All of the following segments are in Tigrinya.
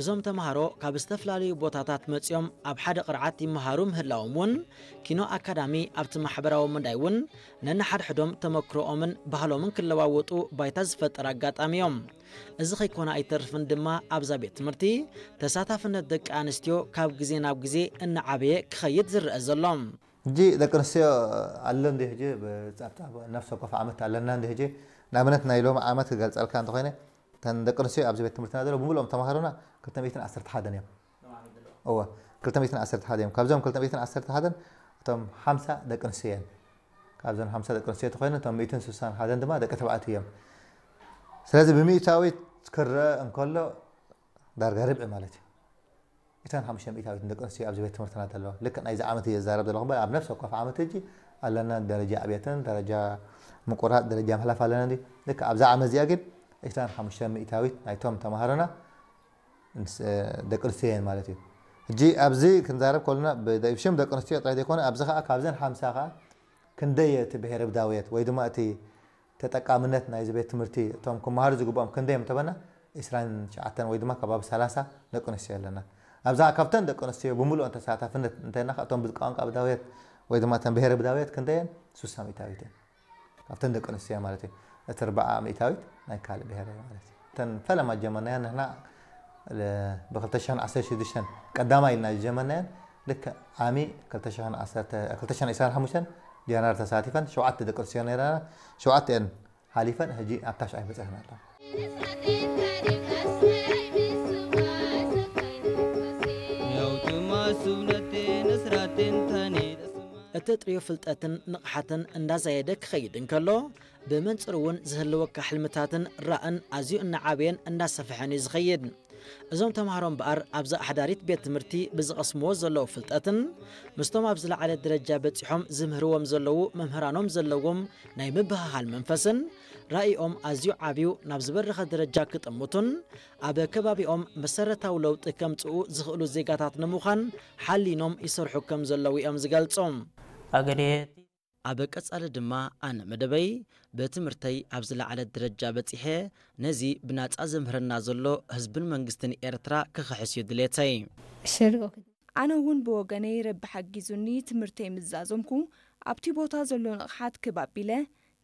እዞም ተምሃሮ ካብ ዝተፈላለዩ ቦታታት መጺኦም ኣብ ሓደ ቅርዓት ይመሃሩ ምህላዎም እውን፣ ኪኖ ኣካዳሚ ኣብቲ ማሕበራዊ መዳይ እውን ነንሓድሕዶም ተመክሮኦምን ባህሎምን ክለዋወጡ ባይታ ዝፈጠረ ኣጋጣሚ እዮም። እዚ ከይኮነ ኣይተርፍን ድማ ኣብዛ ቤት ትምህርቲ ተሳታፍነት ደቂ ኣንስትዮ ካብ ግዜ ናብ ግዜ እናዓበየ ክኸይድ ዝረአ ዘሎ። ሕጂ ደቂ ኣንስትዮ ኣሎ እንዲ ሕጂ ብጻብጻብ ነፍሲ ወከፍ ዓመት ኣለና እንዲ ሕጂ ንኣብነት ናይ ሎም ዓመት ክገልጸልካ እንተኾይነ እተን ደቂ ኣንስትዮ ኣብዚ ቤት ትምህርትና ዘሎ ብምሉኦም ተማሃሮና ክልተ ሚእትን ዓሰርተ ሓደን እዮም። እወ ክልተ ሚእትን ዓሰርተ ሓደን እዮም። ካብዞም ክልተ ሚእትን ዓሰርተ ሓደን እቶም ሓምሳ ደቂ ኣንስትዮ እየን። ካብዞን ሓምሳ ደቂ ኣንስትዮ ተኾይኑ እቶም ሚእትን ስሳን ሓደን ድማ ደቂ ተባዕትዮ እዮም። ስለዚ ብሚእታዊት ክረአ እንከሎ ዳርጋ ርብዒ ማለት እዩ። እተን ሓሙሽተ ሚእታዊት ደቂ ኣንስትዮ ኣብዚ ቤት ትምህርትና ዘለዋ ልክዕ ናይዚ ዓመት እየ ዝዛረብ ዘለኹ እምበር ኣብ ነፍሲ ወከፍ ዓመት ሕጂ ኣለና ደረጃ ዕብየትን ደረጃ ምቁራፅ ደረጃ ምሕላፍ ኣለና እንዲ ልክዕ ኣብዛ ዓመት እዚኣ ግን እተን ሓሙሽተ ሚእታዊት ናይቶም ተምሃሮና ደቂ ኣንስትዮ እየን ማለት እዩ። ሕጂ ኣብዚ ክንዛረብ ከለና ብሽም ደቂ ኣንስትዮ ጥራይ ዘይኮነ ኣብዚ ከዓ ካብዘን ሓምሳ ከዓ ክንደይ እቲ ብሄረ ብዳውየት ወይ ድማ እቲ ተጠቃምነት ናይዚ ቤት ትምህርቲ እቶም ክመሃሩ ዝግብኦም ክንደይ እዮም ተበና ዕስራን ትሽዓተን ወይ ድማ ከባቢ ሰላሳ ደቂ ኣንስትዮ ኣለና። ኣብዛ ካብተን ደቂ ኣንስትዮ ብምሉኦን ተሳታፍነት እንተና እቶም ብቋንቋ ብዳውየት ወይ ድማ እተን ብሄረ ብዳውየት ክንደየን ሱሳ ሚእታዊት እየን። ካብተን ደቂ ኣንስትዮ ማለት እዩ። እቲ ኣርባዓ ሚእታዊት ናይ ካልእ ብሄር እዩ ማለት እዩ። እተን ፈለማ ጀመርናዮ ንሕና ብ ክልተ ሽሕን ዓሰርተ ሽዱሽተን ቀዳማይ ኢልና ዝጀመርናየን ልክዕ ዓሚ ክልተ ሽሕን ዓሰርተ ክልተ ሽሕን ዕስራን ሓሙሽተን ጀነራል ተሳቲፈን ሸውዓተ ደቂ ኣንስትዮ ነይረና ሸውዓተ እየን ሓሊፈን ሕጂ ኣብ ታሽዓይ በፂሐን ኣለዋ። እተጥርዮ ፍልጠትን ንቕሓትን እንዳዛየደ ክኸይድ እንከሎ ብመንፅር እውን ዝህልወካ ሕልምታትን ራእን ኣዝዩ እናዓበየን እንዳሰፍሐን እዩ ዝኸይድ። እዞም ተምሃሮ እምበኣር ኣብዛ ኣሕዳሪት ቤት ትምህርቲ ብዝቐስምዎ ዘለዉ ፍልጠትን ምስቶም ኣብ ዝለዓለ ደረጃ በፂሖም ዝምህርዎም ዘለዉ መምህራኖም ዘለዎም ናይ ምብህሃል መንፈስን ራእይኦም ኣዝዩ ዓብዩ ናብ ዝበረኸ ደረጃ ክጥምቱን ኣብ ከባቢኦም መሰረታዊ ለውጢ ከምፅኡ ዝኽእሉ ዜጋታት ንምዃን ሓሊኖም ይሰርሑ ከም ዘለዉ እዮም ዝገልፁ። ኣብ ቀጻሊ ድማ ኣነ መደበይ ብትምህርተይ ኣብ ዝለዓለ ደረጃ በጺሐ ነዚ ብናጻ ዘምህረና ዘሎ ህዝብን መንግስትን ኤርትራ ክኽሕስ እዩ ድሌተይ። ኣነ እውን ብወገነይ ረቢ ሓጊዙኒ ትምህርተይ ምስ ዛዘምኩ ኣብቲ ቦታ ዘሎ ንቕሓት ክብ ኣቢለ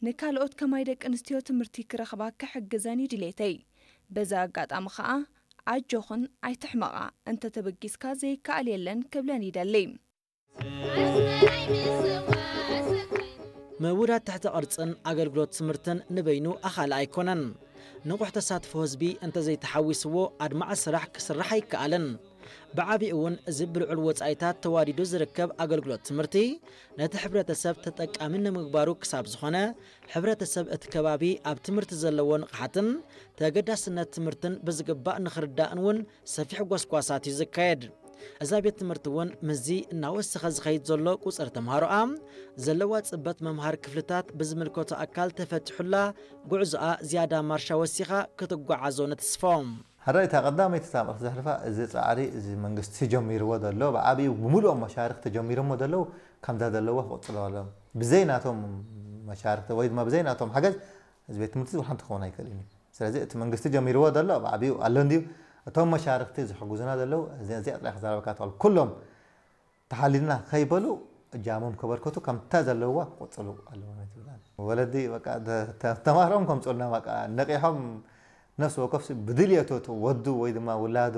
ንካልኦት ከማይ ደቂ ኣንስትዮ ትምህርቲ ክረኽባ ክሕግዘን እዩ ድሌተይ። በዚ ኣጋጣሚ ኸኣ ኣጆኽን ኣይትሕመቓ እንተተበጊስካ ዘይከኣል የለን ክብለን ይደሊ። ምውዳድ ትሕተ ቅርጽን ኣገልግሎት ትምህርትን ንበይኑ ኣኻሊ ኣይኮነን። ንቑሕ ተሳትፎ ህዝቢ እንተዘይተሓዊስዎ ኣድማዒ ስራሕ ክስራሕ ኣይከኣልን። ብዓቢኡ እውን እዚ ብልዑል ወጻኢታት ተዋዲዱ ዝርከብ ኣገልግሎት ትምህርቲ ነቲ ሕብረተሰብ ተጠቃሚ ንምግባሩ ክሳብ ዝኾነ ሕብረተሰብ እቲ ከባቢ ኣብ ትምህርቲ ዘለዎ ንቕሓትን ተገዳስነት ትምህርትን ብዝግባእ ንኽርዳእን እውን ሰፊሕ ጎስጓሳት እዩ ዝካየድ። እዛ ቤት ትምህርቲ እውን ምስዚ እናወሰኸ ዝኸይድ ዘሎ ቁፅሪ ተምሃሮኣ ዘለዋ ፅበት መምሃር ክፍልታት ብዝምልከቶ ኣካል ተፈቲሑላ ጉዕዞኣ ዝያዳ ማርሻ ወሲኻ ክትጓዓዞ ንትስፎ። ሕራይ እታ ቀዳመይቲ ሳምር ዘሕልፋ እዚ ፃዕሪ እዚ መንግስቲ ጀሚርዎ ዘሎ ብዓብዩ ብምሉኦም መሻርክ ተጀሚሮሞ ዘለዉ ከምዛ ዘለዋ ክቕፅሎ ኣለዎም ብዘይ ናቶም መሻርክቲ ወይ ድማ ብዘይ ናቶም ሓገዝ እዚ ቤት ትምህርቲ እዚ ሓንቲ ክኸውን ኣይክእልን እዩ ስለዚ እቲ መንግስቲ ጀሚርዎ ዘሎ ብዓብዩ ኣሎ እንድዩ እቶም መሻርክቲ ዝሕግዙና ዘለዉ እዚኣ ጥራይ ክዛረበካ ትኽእል ኩሎም ተሓሊልና ከይበሉ እጃሞም ከበርከቱ ከምታ ዘለዋ ክቆፅሉ ኣለዎም ትብል ወለዲ ተማህሮም ከምፅኡልና ነቂሖም ነፍሲ ወከፍ ብድልየቱ ወዱ ወይ ድማ ውላዱ